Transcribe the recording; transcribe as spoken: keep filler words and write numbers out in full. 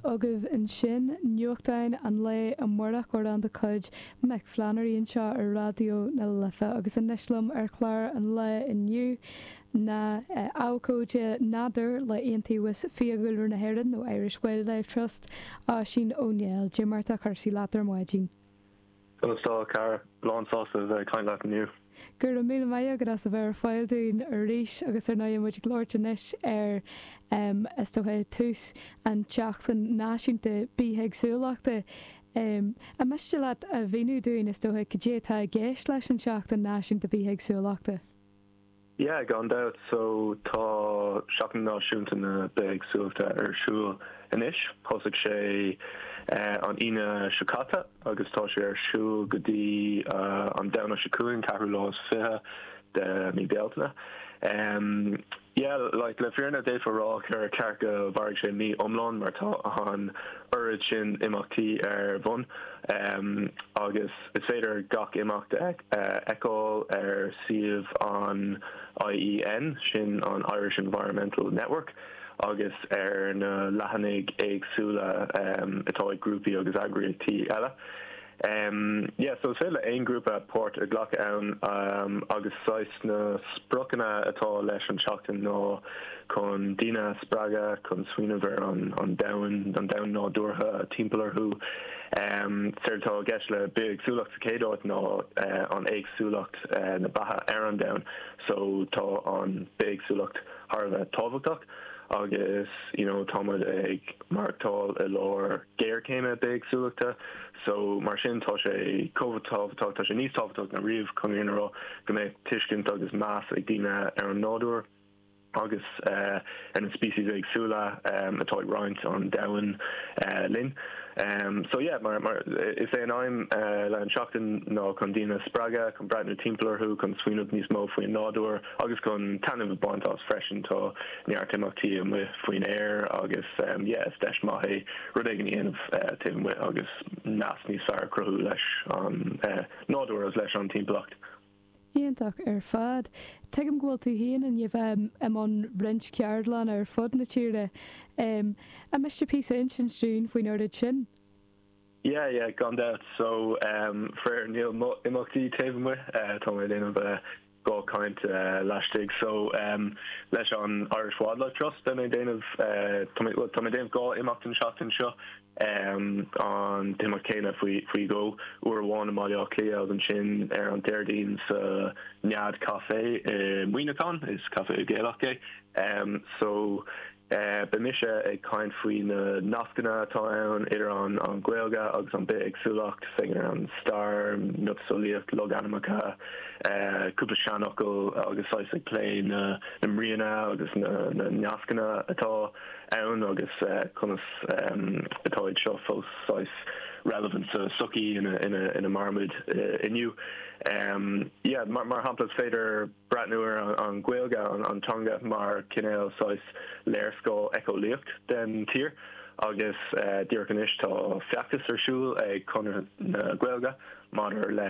Agaibh ansin nuachtáin an lae amárach amhrán de chuid Mick Flannery anseo ar Raidió na Life agus anois liom ar chlár an lae inniu ná abhcóide nádúir le Iontaobhas Fiadhúlra na hÉireann nó Irish Wildlife Trust Oisín Ó Néill Cad é mar atá cúrsaí leat ar maidin. Conas tá cara lán sásta bheith caint leat inniu. Gur an míle maith agat as a bheith ar fáil dúinn arís agus ar ndóigh muid ag labhairt anois ar um, is dócha tús an tseachtain náisiúnta bithéagsúlachta. Um, an miste leat a mhíniú dúinn is dócha cad é atá i gceist leis an seachtain náisiúnta bithéagsúlachta. Yeah, gan dabht so tá seachtain náisiúnta na bithéagsúlachta ar siúl anois thosaigh sé uh, an Aoine seo caite agus tá sé ar siúl go dtí uh, an Domhnach seo chugainn ceathrú lá is fiche de mí Bealtaine. Um, yeah, like le fírinne d'fhéadfá rá gur ceart go mhairfeadh sé mí iomlán mar tá an oiread sin imeachtaí ar bun um, agus is féidir gach imeacht fheiceáil ar suíomh an IEN sin an Irish Environmental Network agus ar na leathanaigh éagsúla um, atá ag grúpaí agus eagraíochtaí eile. Um, yeah, so is féidir le aon grúpa páirt a ghlacadh ann um, agus saghas na spriocanna atá leis an seachtain ná chun daoine spreagadh chun smaoineamh ar an, an domhan an domhan nádúrtha timpeall orthu. Um, Séard atá i gceist le bithéagsúlacht sa chéad áit ná uh, an éagsúlacht uh, na beatha ar an domhan, so tá an bithéagsúlacht thar a bheith tábhachtach. agus you know táimid ag maireachtáil i lár géarchéime bithéagsúlachta so mar sin tá sé chomh tábhachtach tá sé níos tábhachtaí ná riamh chun rá go mbeidh tuiscint agus meas ag daoine ar an nádúr agus uh, ar an species éagsúla um, atá ag roinnt an domhan uh, linn. Um, so yeah, mar, mar is é an aidhm uh, le an seachtain ná chun daoine spreagadh chun breathnú timpeall orthu chun smaoineamh níos mó faoin nádúr agus chun taitneamh a bhaint as freisin tá neart imeachtaí amuigh faoin aer agus um, yeah, is deis maith é rud éigin a dhéanamh uh, taobh amuigh agus nasc níos fearr cruthú leis an uh, nádúr agus leis an timpeallacht. Iontach ar fad. Tuigim go bhfuil tú féin i ndiaidh i mbun roinnt ceardlann ar fud na tíre. Um, an miste píosa insint dúinn faoin rud sin. Yeah, yeah, gan dabht so um, faraor níl imeachtaí taobh amuigh uh, tá mé déanamh uh, dhá caint uh, laistigh so um, leis an Irish Wildlife Trust beidh mé déanamh uh, tá mé déanamh dhá imeacht an seachtain seo um, an t-imeacht céanna faoi faoi dhó uair amháin i mBaile Átha Cliath agus ansin ar an Déardaoin sa Nead Café i Muineachán is café Gaelach é um, so uh, beidh mise ag caint faoi na nascanna atá ann idir an an Ghaeilge agus an bithéagsúlacht féachaint ar an stair miotaseolaíocht logainmneacha uh, cúpla seanfhocal agus saghas ag plé na na mbríonna agus na, na nascanna atá ann agus uh, conas um, atá seo fós saghas relevant sa sochaí ina ina ina mairimid uh, inniu. Um, yeah, mar, mar shampla is féidir breathnú ar an, an Ghaeilge an, an teanga mar cineál saghas léarscáil éiceolaíoch den tír agus uh, díreach anois tá feachtas ar siúl ag Conradh na Gaeilge maidir leis